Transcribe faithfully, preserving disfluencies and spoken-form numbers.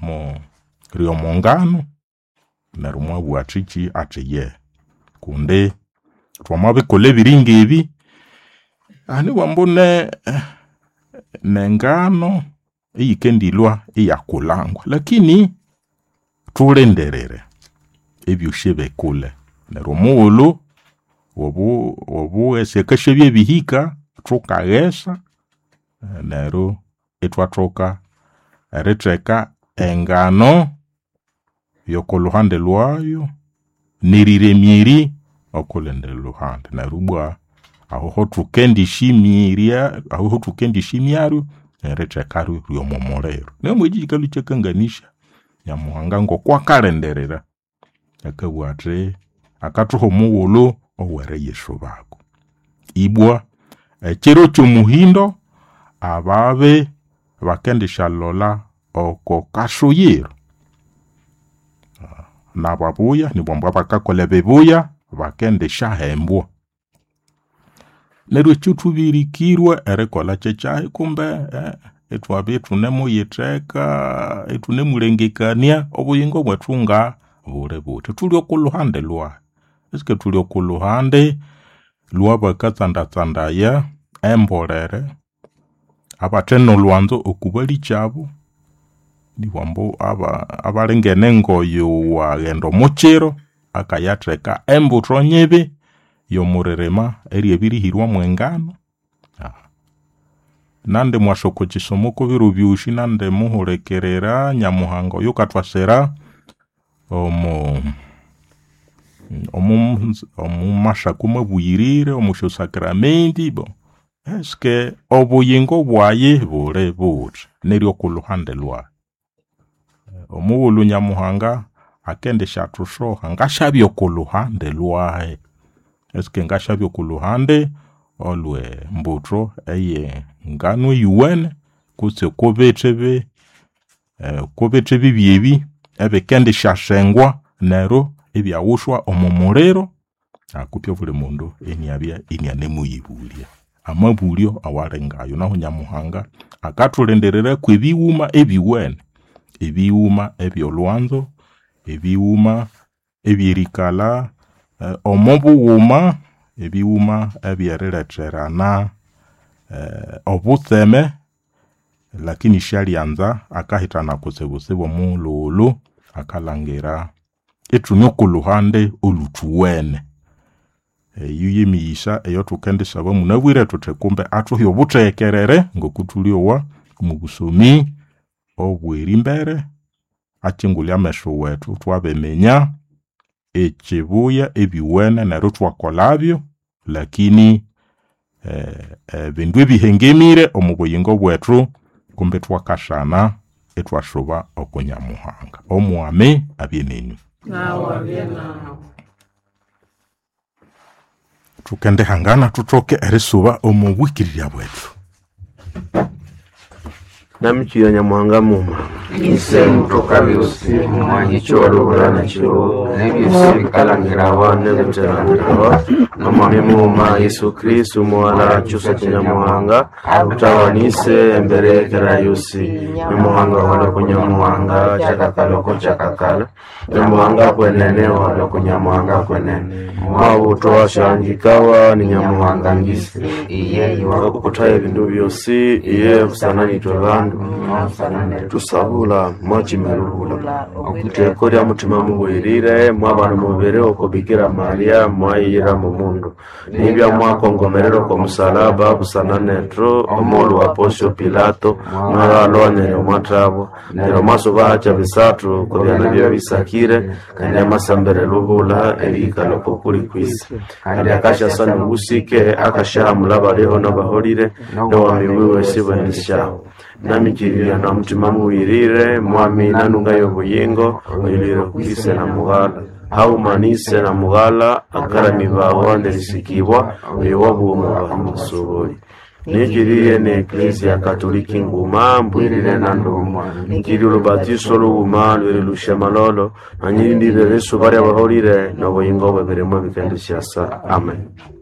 omo ryomongano neryo mwabugha athiki athi ye kundi twamabikolha ebiringa ebi anibwa ambu ne nengano eyikendilhwa iyakulhangwa lakini thulindirire ebyosi bikulhe neryo omughulhu obu obughesi akasyabya abihika thukaghesa neryo ithwathoka eritheka engano yokolhuhande lwayo neriremya eri okolhundi lhuhande neryo ibwa aho thukendisyimirya aho thukendishimyaryo neritheka ryomo muliro. Nemwekyi kyikalhwa ikyakanganisya Nyamuhanga ngokwa akalindirira akabugha athi akathuha omughulhu oweriyisubako. Ibwa ekyiro kyomuhindo ababi bakendisyalholha oko kasuyiro nababuya nibwambu abakakolha ebibuya bakendisyahembwa. Neryo ekyathubirikirwe erikolha kyekyahi kumbe ithwabya ithunemuyitheka ithunemulengekania obuyingo bwethu ngabuli buthi. Thuli okolhuhande lwahi? Eske thuli okolhuhande lwabakatsandatsandaya embolere abathe nolhwanzo okubalikyabo nibwambu abalingene ngoyu waghenda omukyiro akayatheka embutho nyibi yomuririma eryabirihirwa mwengano. Nandi mwasa okwakisomo okwebiro byosi nandi muhulikirira Nyamuhanga oyukathwasira omo omumasako mabuyirire omusyasakramenti bo eske obuyingo bwayi buli buthi neryo okolhuhande lwahi? Omughulhu Nyamuhanga akendisyathushoha ngasyabya okolhuhande lwahi? Eske ngasyabya okolhuhande olwe mbutho eye ngano eyuwene kutse okobithi bi okobithi bibi ebi ebikendisyasengwa neryo ibyaghushwa omo muliro? Kupye obuli mundu iniabya inianemuyibulya amabulyo awalingayo nahu Nyamuhanga akathulindirira kwebighuma ebiwene, ebighuma ebyolhwanzo, ebighuma ebyerikalha omobughuma, ebighuma ebyerilhetherana obutseme lakini isyalyanza akahithana kutsibutsibu omughulhughulhu akalhangira ithune okolhuhande olhuthuwene. Eyo yemighisa eyathukendisaba munabwire thuthi kumbe athuhe obutheghekerere ngokuthulyowa omubusomi obwerimbere akyingulhe ameso wethu thwabiminya ekyibuya ebyuwene neryo ithwakolhabyo lakini ebindu ebihengemire omo buyingo bwethu kumbe ithwakasana ithwasuba oko Nyamuhanga. Omwami abye nenyu. Nawe abye nawe. Thukendihangana thuthoke erisuba omo bwikirirya bwethu. Namikirya Nyamuhanga muma ise mutoka byosi mumwanyi kyolubula nakiro nebyosi bikalangirawa nebitherangirawa nomwami mughuma Yesu Kristu muwala kyusa kya Nyamuhanga utawanise embere yekera yosi Nyamuhanga waloko Nyamuhanga kyakakaloko kyakakala Nyamuhanga kwenene waloko Nyamuhanga kwenene mwabutowa syangikawa ni Nyamuhanga ngisi iye iwa wakukuthaye ebindu byosi iye busananithwe bandu tusabula mwachimelubula okwiteko lya mutima mubwirire mwabana mubiri oko Bikira Maria mwayira mumundu nibya mwakongomerera oko musalaba busana nethu omulhu wa Pontio Pilato mwalwa neryo mwathabwa neryo mwasuba hacha bisathu kobyana bya bisakire kandi amasambere lubula erihikala oko kuli kwisi kandi akasyasa nobusike akasyahamula baliho nabaholire nowami wiwe sibwenisyaho namikirira na mutima muwirire mwami nanunga y'obuyingo oyulire kwise na mughala haumanise na mughala akaramibawa nerisikibwa oyo wabuomu bamusoboli nikiriye ne eklezia katoliki nguma mbwirire na ndumwa nikiri olubatiso lughuma lweri lushemalolo nanyirindire lesu balya baholire nobuyingo bwebirimo ebikendishyasa amen.